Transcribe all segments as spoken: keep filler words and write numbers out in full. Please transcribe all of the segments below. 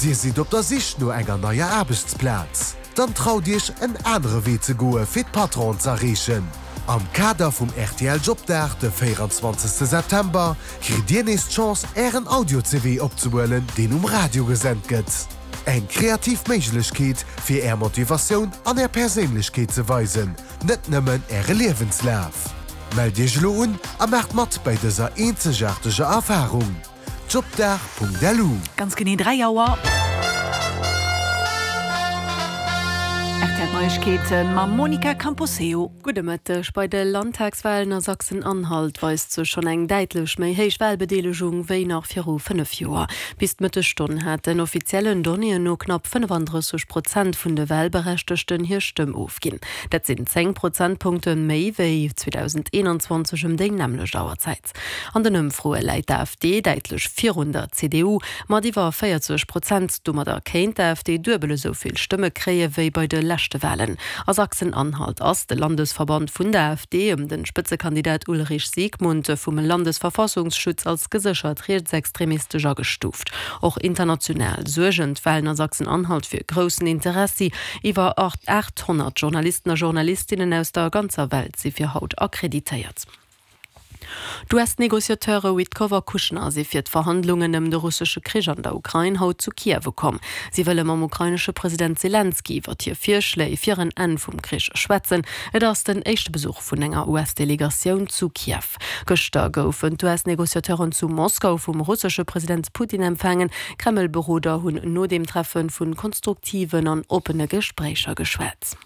Dir sidd op der Sich no enger neier Aarbechtsplaz? Dann traut Iech en anere Wee ze goe fir d'Patronen z'erreechen! Am Kader vum R T L Jobdag de véieranzwanzegste September kritt Dir nees d'Chance Ären Audio-C V opzehuelen, deen um Radio gesent gëtt. Eng kreativ Méiglechkeet fir Är Motivatioun an Är Perséinlechkeet ze weisen, net nëmmen Äre Liewenslaf. Mellt Iech elo un a maacht mat bei dëser eenzegaarteger Erfarung. Jobdag punkt lu. Ganz genee dräi Auer. R T L Neiegkeeten mam Monica Camposeo. Gudde Mëtteg. Bei de Landtagswahlen a Sachsen-Anhalt weist sech schonn eng däitlech méi héich Wahlbedeelegung wéi nach viru fënnef Joer. Bis d'Mëttesstonn haten offiziellen Donnéeën no knapp fënnefanddrësseg Prozent vun de Wahlberechtegten hir Stëmm ofginn. Dat sinn zéng Prozentpunkte méi wéi zweedausendeenanzwanzeg ëm déi nämmlecht Auerzäit. An den Ëmfroe läit d'A F D däitlech virun der C D U mat iwwer véierzeg Prozent. Domadder kéint d'A F D duebel esou vill Stëmme kréie wéi bei de leschte Wahlen. A Sachsen-Anhalt ass de Landesverband vun der A F D ëm den Spëtzekandidat Ulrich Siegmund vum Landesverfassungsschutz als geséchert rechtsextremistesch agestuuft. Och international suergen d'Wahlen a Sachsen-Anhalt fir groussen Interessi. Iwwer achthonnert Journalisten a Journalistinnen aus der ganzer Welt si fir haut akkreditéiert. D'U S-Negociateure Witkoff a Kushner si fir d'Verhandlungen ëm de russesche Krich an der Ukrain haut zu Kiew ukomm. Si wëlle mam ukrainesche President Zelensky iwwer hir Virschléi fir en Enn vum Krich schwätzen. Et ass den éischte Besuch vun enger U S-Delegatioun zu Kiew. Gëschter goufen d'U S-Negociateuren zu Moskau vum russesche President Putin empfaangen. Kreml-Beroder hunn no deem Treffe vu konstruktiven an oppene Gespréicher geschwat.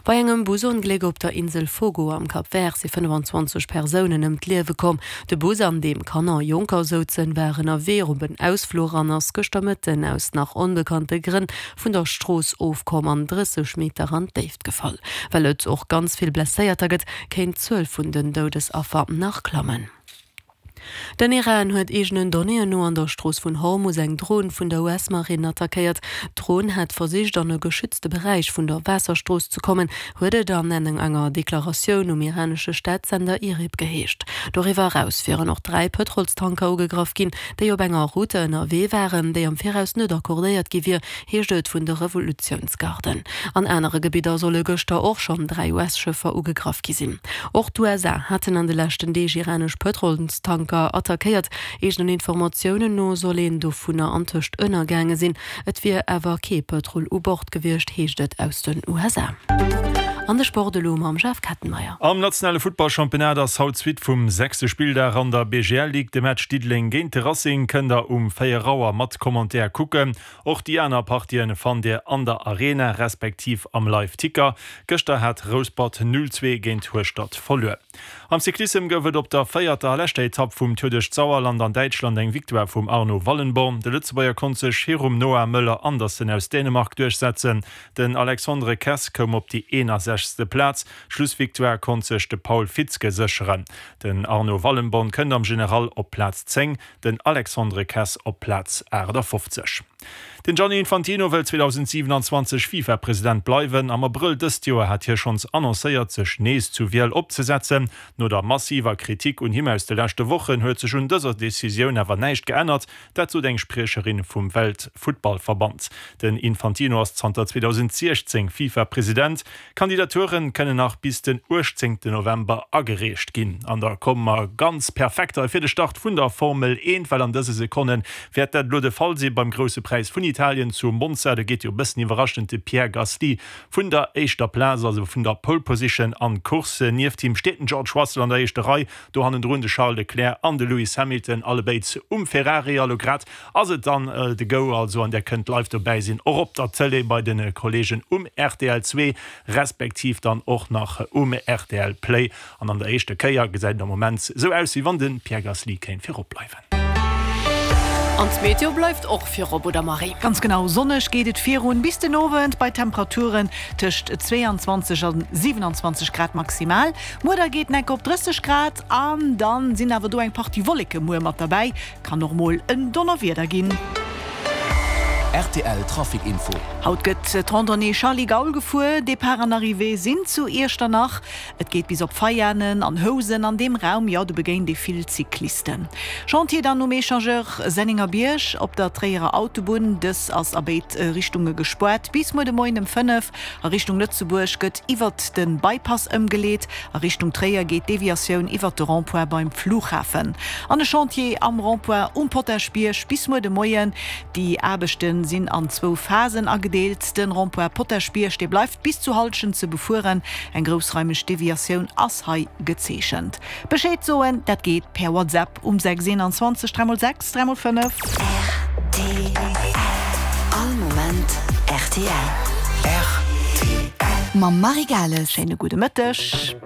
Bei engem Busongléck op der Insel Fogo am Cap Vert si fënnefanzwanzeg Persounen ëm d'Liewe komm. De Bus, an deem Kanner a Jonker souzen, war ënnerwee op en Ausfluch an ass gëschter Mëtten aus nach onbekannte Grënn vun der Strooss ofkomm an drësseg Meter an d'Déift gefall. Well et och ganz vill Blesséierter gëtt, kéint d'Zuel vun den Doudesaffer nach klammen. Den Iran huet eegenen Donnéeën no an der Strooss vun Hormus eng Dron vun der U S-Marinn attackéiert. D'Dron hat versicht, an e geschützte Beräich vun der Waasserstrooss ze kommen, huet et an enger Deklaratioun um iranesche Staatssender IRIB geheescht. Doriwwer eraus wieren och dräi Pëtrolstanker ugegraff ginn, déi op enger Route ënnerwee waren, déi am Viraus net accordéiert gi wier, heescht et vun de Revolutiounsgarden. An anere Gebidder solle gëschter och schonn dräi U S-Schëffer ugegraff gi sinn. Och d'U S A haten an de leschten Deeg iranesch Pëtrolstanker attackéiert. Eegenen Informatiounen no soll een dovunner antëscht ënnergaange sinn. Et wier awer kee Pëtrol u Bord gewiescht, heescht et aus den U S A. An de Sport elo mam Jeff Kettenmeyer. Am nationale Futtballchampionnat ass haut d'Suite vum sechste Spilldag an der B G L Ligue. De Match Diddeleng géint de Racing kënnt der um véier Auer mat Commentaire kucken. Och déi aner Partien fannt dir an der Arena respektiv am Live-Ticker. Gëschter hat Rouspert null zwee géint Hueschtert verluer. Am Cyclissem gouf et op der véierter a leschter Etapp vum Tour duerch d'Sauerland an Däitschland eng Victoire vum Arno Wallenborn. De Lëtzebuerger konnt sech virum Noah Möller Andersen aus Dänemark duerchsetzen. Den Alexandre Kess koum op déi eenasechzegste Plaz. D'Schlussvictoire konnt sech de Paul Fitzke sécheren. Den Arno Wallenborn kënnt am General op Plaz zéng, den Alexandre Kess op Plaz aachtafofzeg. Den Gianni Infantino wëll zweedausendsiewenanzwanzeg FIFA-President bleiwen. Am Abrëll dëst Joer hat hie schonns annoncéiert, sech nees zur Wiel opzesetzen. No der massiver Kritik un him aus de leschte Wochen huet sech un dëser Decisioun awer näischt geännert, dat sot eng Spriecherin vum Weltfuttballverband. Den Infantino ass zanter zweedausendsechzéng FIFA-President. Kandidaturen kënnen nach bis den uechtzéngten November agereecht ginn. An da komme mer ganz perfekt fir de Start vun der Formel eent, well an dëse Sekonne wäert dat elo de Fall si beim Grousse Präis vun Italien zu Monza. Do geet jo e bëssen iwwerraschend de Pierre Gasly vun der éischter Plaz, also vun der Pole Position an d'Course. Nieft him steet den George Russell an der éischter Rei, do hannendrun de Charles Leclerc an de Lewis Hamilton, allebéid um Ferrari. A lo grad ass et dann de Go, also an dir kënnt live dobäi sinn, och op der Tëlee bei de Kolleegen um R T L zwee, respektiv dann och nach um R T L Play. An an der éischter Kéier gesäit et am Moment sou aus, wéi wann de Pierre Gasly kéint virop bleiwen. An d'Meteo bleift och virop, oder Marie? Ganz genau, sonneg geet et virun bis den Owend bei Temperaturen tëscht zweeanzwanzeg an siewenanzwanzeg Grad maximal. Muer da geet et op drësseg Grad an dann sinn awer do eng Partie Wolleke muer mat derbäi. Kann och mol en Donnerwieder ginn. Rtl Trafic Info. Haut gëtt d'Randonnée Charly Gaul gefuer. Depart an Arrivée sinn zu Iechternach. Et geet bis op Veianen an Housen. An deem Raum, jo, do begéint ee vill Cyclisten. Chantier dann um Echangeur Sennengerbierg op der Tréierer Autobunn. Dës ass a béid Richtunge gespaart bis muer de Moien ëm fënnef. A Richtung Lëtzebuerg gëtt iwwert de Bypass ëmgeleet. A Richtung Tréier geet d'Deviatioun iwwert de Rond-point beim Flughafen. An e Chantier am Rond-point um Potaschbierg bis muer de Moien. Déi Aarbechte sinn an zwou Phasen agedeelt. Den Rond-point Potaschbierg, dee bleift bis zu Halschent ze befueren. Eng groussraimeg Deviatioun ass hei gezeechent. Bescheed soen, dat geet per WhatsApp um sechs eenanzwanzeg dräi mol sechs dräi mol fënnef. Rtl, All Moment rtl. Rtl. Mam Marie Gales. Schéine gudde Mëtteg.